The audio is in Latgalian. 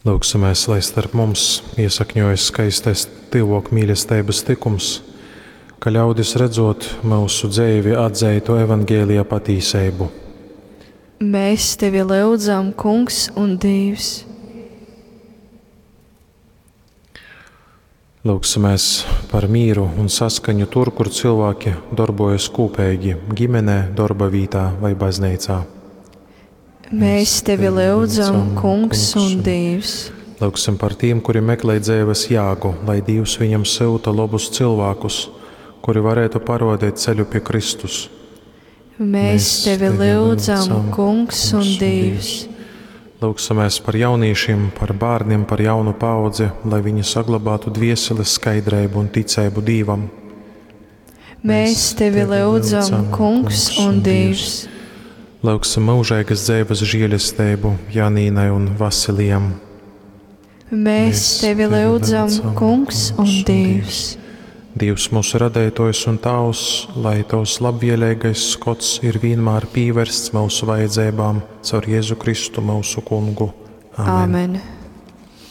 Lūgsimies, lai starp mums iesakņojas skaistais tyvōkmīlesteibas tykums, ka ļaudis redzot myusu dzeivi atzeitu evaņgelija patīseibu. Mēs tevi lyudzam, Kungs un Dīvs. Lūgsimies par mīru un saskaņu tur, kur cilvēki darbojas kūpeigi – ģimenē, darba vītā vai bazneicā. Mēs tevi lyudzam, Kungs un Dīvs. Lūgsim par tiem, kuri meklē dzīves jāgu, lai Dievs viņam syuta labus cilvēkus, kuri varētu parodīt ceļu pie Kristus. Mēs tevi lyudzam, Kungs un Dīvs. Lūgsimies par jauniešiem, par bērniem, par jaunu paudzi, lai viņi saglabātu dvieseles skaidrību un ticību Dievam. Mēs tevi lyudzam, Kungs un Dīvs. Lūgsim mūžīgas dzīves žēlastību Janīnai un Vasilijam. Mēs tevi lyudzam, Kungs un Dīvs. Dievs mūsu radētojs un Tavs, lai Tavs labvēlīgais skots ir vienmēr pievērsts mūsu vajadzībām caur Jēzu Kristu mūsu kungu. Amen. Amen.